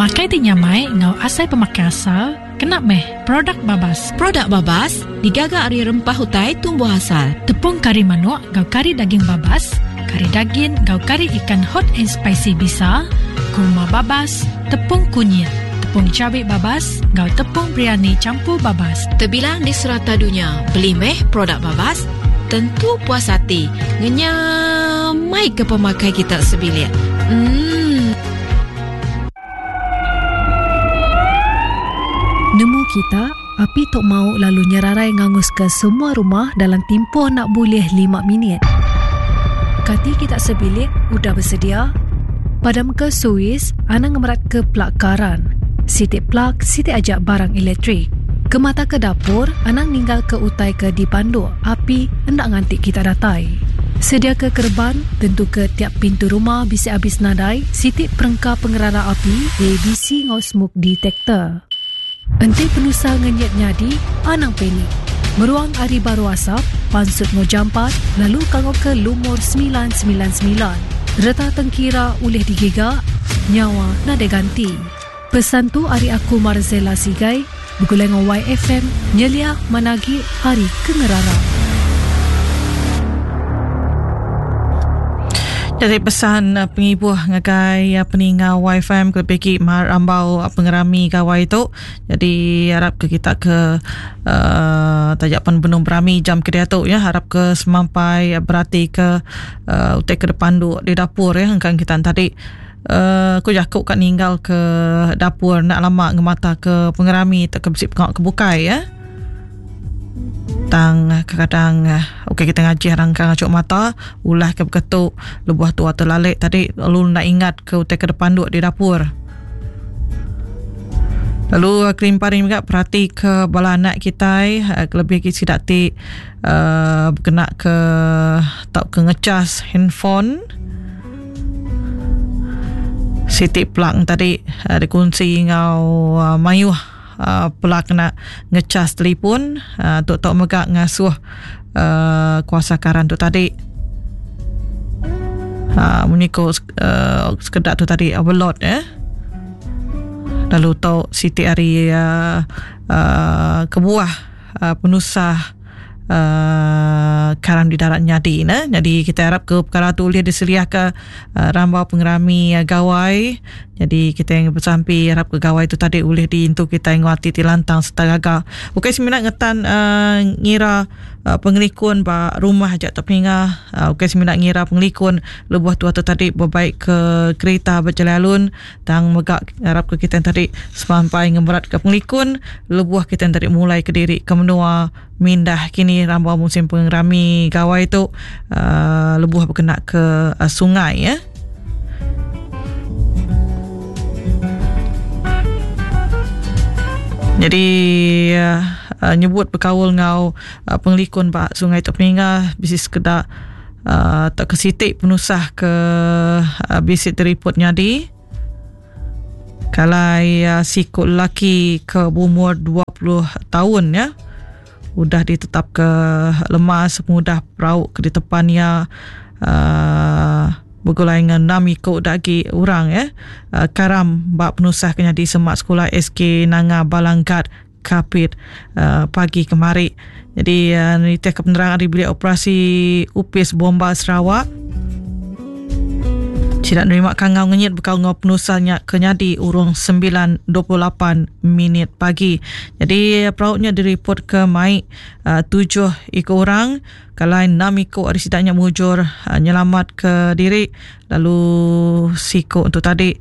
Pemakai ti nyamai enggau asai pemakai asal kena meh produk babas. Produk babas digaga ari rempah utai tumbuh asal. Tepung kari manuk enggau kari daging babas, kari dagin enggau kari ikan hot and spicy bisa, kurma babas, tepung kunyit, tepung cabi babas enggau tepung biryani campur babas. Tebilang di serata dunya, beli meh produk babas, tentu puas ati ngenyamai ke pemakai kita sebilik. Emm. Nemu kita, api tu mau lalu nyerarai nganguska semua rumah dalam timpuh enda bulih lima minit. Kati kita sebilik udah besedia? Padamka suis, anang ngemeratka plug karan. Siti plug, siti aja barang elektrik. Kemataka dapur, anang ninggalka utai ke dipanduk api enda nganti kita datai. Sediaka kereban, tentuka tiap pintu rumah bisi abis nadai siti perengka pengerara api, ABC enggau smoke detector. Enti penusah ngenyit nyadi, anang panik. Meruang ari baruh asap, pansut enggau jampat lalu kangauka lumur 999. Reta tengkira ulih digiga, nyawa nadai ganti. Pesan tu ari aku Marzella Sigai, begulai enggau YFM nyeliah manah agi ari ke ngerara. Jadi pesan pengibuh ngagai peninga YFM kelebih agi rambau pengerami gawai tu. Jadi arap ke kita ke uh, taja pan benung berami jam ke diatu ya harap ke semampai berati ke uh, utai ke depan du di dapur ya engkang kita tadi uh, ku jaku ka ninggal ke dapur nak lama ngemata ke pengerami atau ke bisi pengawa ke bukai ya. Tang kadang ukai kita ngajih rangkang ngachuk mata ulah ke beketu lebuh tua terlalik tadi lalu enda ingat ke utai ke depanduk di dapur. Lalu kelimpah ari mega perati ke bala anak kitai kelebih agi sida ti uhh bekena ke tauka ngecas handphone siti plug tadi dikunsi enggau mayuh. Pela kena ngecas telipun tu tau mega ngasuh kuasa karan tu tadi munyi ko sekeda tu tadi overload eh lalu tu siti ari kebuah penusah uhh karan di darat nyadi ne. Nyadi kitai arap ke pekara tu ulih diseliah ke uhh rambau pengerami gawai. Nyadi kitai besampi arap ke gawai tu tadi ulih diintu kitai enggau ati ti lantang sereta gaga. Ukai semina ngetan uhh ngira pengelikun ba rumah aja tau peninga uhh ukai semina ngira pengelikun lebuh tuah tu tadi bebaik ke kerita bejalai alun. Tang mega ngarapka kitai tadi semampai ngemeratka pengelikun lebuh kitai tadi mulai kediri ke menua mindah kini rambau musim pengerami gawai tu uhh lebuh bekena ke sungai eh. Jadi uhh nyebut bekaul enggau pengelikun ba sungai tu peninga bisi sekeda uhh tauka siti penusah ke bisi diripot nyadi kalai siku lelaki ke beumur 20 taun ya udah ditetapka lemas pengudah perau ke ditepan iya uhh begulai enggau enam iku da agi orang ya karam ba penusah ke nyadi semak sekula SK Nanga Balanggat Kapit pagi kemari. Jadi nitihka penerang ari Bilik Operasi Opis Bomba Sarawak, sida nerima kangau ngenyit bekaul enggau penusah nya ke nyadi urung 9.28 minit pagi. Jadi perau nya diripotka mai tujuh iku orang kalai enam iku ari sida nya mujur nyelamatka diri lalu siku tu tadi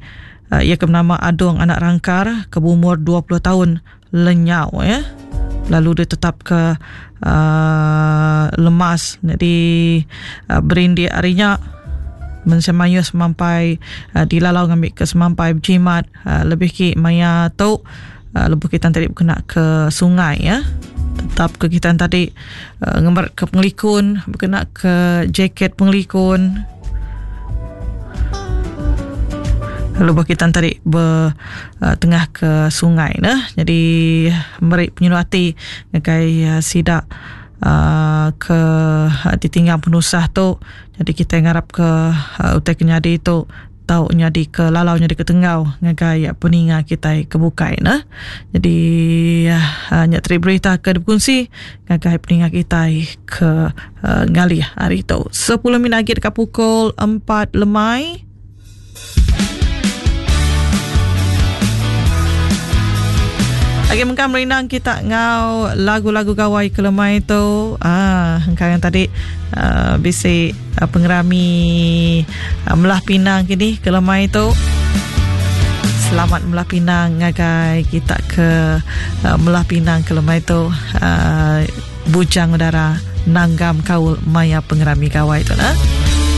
Iya ke benama Adong anak Rangkar ke beumur 20 taun lenyau ya. Lalu ditetapka uh, lemas jadi uh, berindik ari nya mensia mayuh semampai uh, dilalau ngambi ke semampai bejimat uh, lebih ki maya tu uh, lebuh kita tadi bekena ke sungai ya. Tetap ke kita tadi uh, ngemerat ke pengelikun bekena ke jaket pengelikun Lalu bah kita tadi ber uh, tengah ke sungai neh. Jadi meri penyinu ati ngagai uh, sida uh, ke uh, ditinggang penusah tu. Jadi kita ngarap ke uh, utai ke nyadi tu. tau nyadi ke lalau nyadi ke tenggau ngagai peninga kitai ke bukai neh. Jadi uh, nya tadi berita ke dikunsi ngagai peninga kitai ke uh, ngalih hari tu. 10 minit lagi dekat pukul 4 lemai. Agi mengkang merindang kita ngau lagu-lagu gawai ke lemai tu. Ah, engkang yang tadi uh, bisi uh, pengerami uh, melah pinang kini ke lemai tu. Selamat melah pinang ngagai kita ke uh, melah pinang ke lemai tu. Uh, bujang udara nanggam kaul maya pengerami gawai tu nah.